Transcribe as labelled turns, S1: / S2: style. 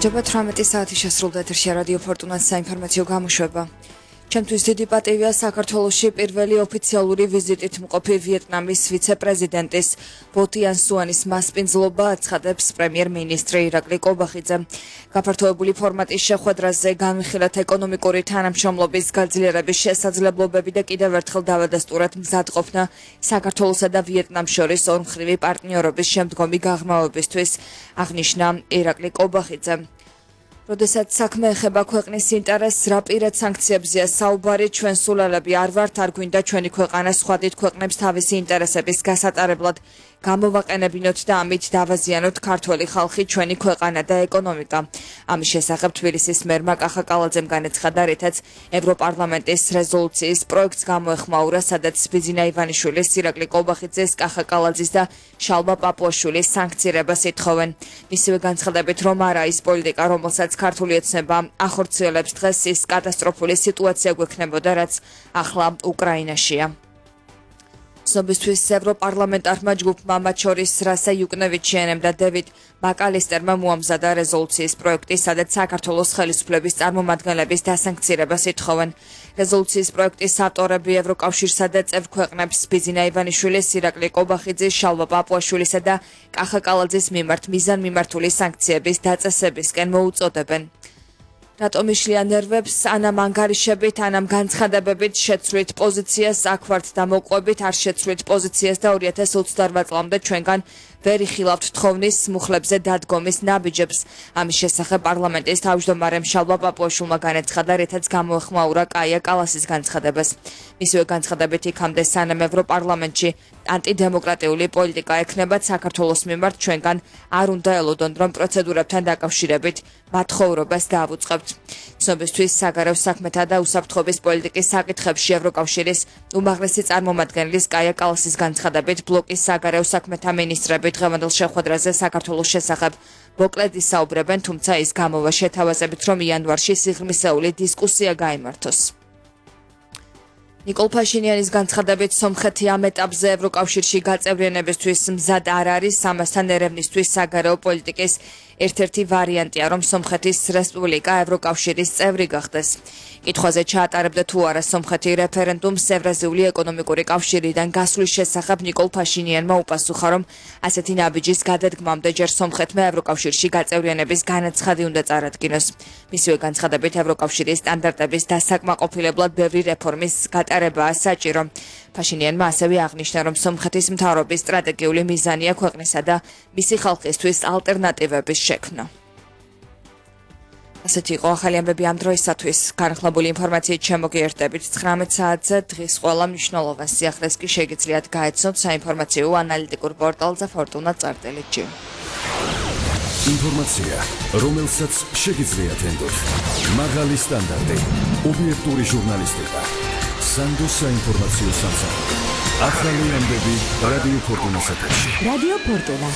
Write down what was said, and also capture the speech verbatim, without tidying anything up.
S1: Ჭდება თვრამეტი საათი შესრულდა ეთერში რადიო ფორტუნას საინფორმაციო გამოშვება. Ჩემთვის დიდი პატივია საქართველოში პირველი ოფიციალური ვიზიტით მყოფი ვიეტნამის ვიცე-პრეზიდენტის ბო თიან სუანის მასპინძლობა აცხადებს პრემიერ-მინისტრი ირაკლი კობახიძე. გაფართოებული ფორმატის შეხვედრაზე განვიხილეთ ეკონომიკური თანამშრომლობის გაძლიერების შესაძლებლობები და კიდევ ერთხელ დავადასტურეთ მზადყოფნა საქართველოსა და ვიეტნამს შორის ორმხრივი პარტნიორობის შემდგომი გაღრმავებისთვის, აღნიშნა ირაკლი კობახიძე. როდესაც საქმე ეხება ქვეყნის ინტერესს, რა პირად სანქციებზეა საუბარი, ჩვენ სულელები არ ვართ, არ გვინდა ჩვენი ქვეყანა სხვა დიდ ქვეყნებს თავისი ინტერესების გასატარებლად გამოვაყენებინოთ და ამით დავაზიანოთ ქართველი ხალხი, ჩვენი ქვეყანა და ეკონომიკა. ამის შესახებ თბილისის მერმა კახა კალაძემ განაცხადა, რითაც ევროპარლამენტის რეზოლუციის პროექტს გამოეხმაურა, სადაც ბიძინა ივანიშვილის, ირაკლი კობახიძეს, კახა კალაძის და შალვა პაპუაშვილის სანქცირებას ითხოვენ. მისივე განცხადებით, რომ არა ის პოლიტიკა, რომელსაც ქართული ოცნება ახორციელებს დღეს, ის კატასტროფული სიტუაცია გვექნებოდა, რაც ახლა უკრაინაშია. ცნობისთვის ევროპარლამენტარმა ჯგუფმა, მათ შორის რასა იუკნევიჩიანემ და დევიდ მაკალისტერმა მოამზადა რეზოლუციის პროექტი, სადაც საქართველოს ხელისუფლების წარმომადგენლების დასანქცირებას ითხოვენ. რეზოლუციის პროექტის ავტორები ევროკავშირსა და წევრ ქვეყნებს ბიძინა ივანიშვილის, ირაკლი კობახიძის, შალვა პაპუაშვილისა და კახა კალაძის მიმართ მიზანმიმართული სანქციების დაწესებისკენ მოუწოდებენ. რატომ იშლია ნერვებს, ანამ ანგარიშებით, ანამ განცხადებებით შეცვლით პოზიციას, აქ ვართ და მოყვებით, არ შეცვლით პოზიციას და ორი ათას ოცდაოთხ წლამდე ჩვენგან ვერ იხილავთ თხოვნის მუხლებზე დადგომის ნაბიჯებს. ამის შესახებ პარლამენტის თავმჯდომარემ შალვა პაპუაშვილმა განაცხადა, რითაც გამოეხმაურა კაია კალასის განცხადებას. მისივე განცხადებით იქამდე, სანამ ევროპარლამენტში ანტიდემოკრატიული პოლიტიკა ექნებათ, საქართველოს მიმართ ჩვენგან არ უნდა ელოდონ, რომ პროცედურებთან დაკავშირებით მათხოვრობას დავუწყებთ. ცნობისთვის საგარეო საქმეთა და უსაფრთხოების პოლიტიკის საკითხებში ევროკავშირის უმაღლესი წარმომადგენლის კაია კალასის განცხადებით, ბლოკის საგარეო საქმეთა მინისტრები დღევანდელ შეხვედრაზე საქართველოს შესახებ მოკლედ ისაუბრებენ, თუმცა ის გამოვა შეთავაზებით, რომ იანვარში სიღრმისეული დისკუსია გაიმართოს. ნიკოლ ფაშინიანის განცხადებით, სომხეთი ამ ეტაპზე ევროკავშირში გაწევრიანებისთვის მზად არ არის, ამასთან ერევნისთვის საგარეო პოლიტიკის ერთ-ერთი ვარიანტია, რომ სომხეთის რესპუბლიკა ევროკავშირის წევრი გახდეს. კითხვაზე ჩაატარებდა თუ არა სომხეთი რეფერენდუმს ევრაზიული ეკონომიკური კავშირიდან გასვლის შესახებ, ნიკოლ ფაშინიანმა უპასუხა, რომ ასეთი ნაბიჯის გადადგმამდე ჯერ სომხეთმა ევროკავშირში გაწევრიანების განაცხადი უნდა წარადგინოს. მისივე განცხადებით, ევროკავშირის სტანდარტების დასაკმაყოფილებლად ბევრი რეფორმის გატარებაა საჭირო. ფაშინიანმა ასევე აღნიშნა, რომ სომხეთის მთავრობის სტრატეგიული მიზანია ქვეყნისა და მისი ხალხისთვის ალტერნატივების შექმნა. ასეთი იყო ახალი ამბები ამ დროისათვის. განხილებული ინფორმაციით შემოგიერთდებით ცხრამეტ საათზე, დღის ყველა მნიშვნელოვან სიახლეს კი შეგიძლიათ გაეცნოთ საინფორმაციო ანალიტიკურ პორტალზე ფორტუნა წარწერით ჯი.
S2: ინფორმაცია, რომელსაც შეგიძლიათ ენდოთ. მაღალი სტანდარტი, ობიექტური ჟურნალისტიკა. სანდო საინფორმაციო სამსახური. ახალი ამბები რადიო ფორტუნას ეთერში.
S3: რადიო ფორტუნა.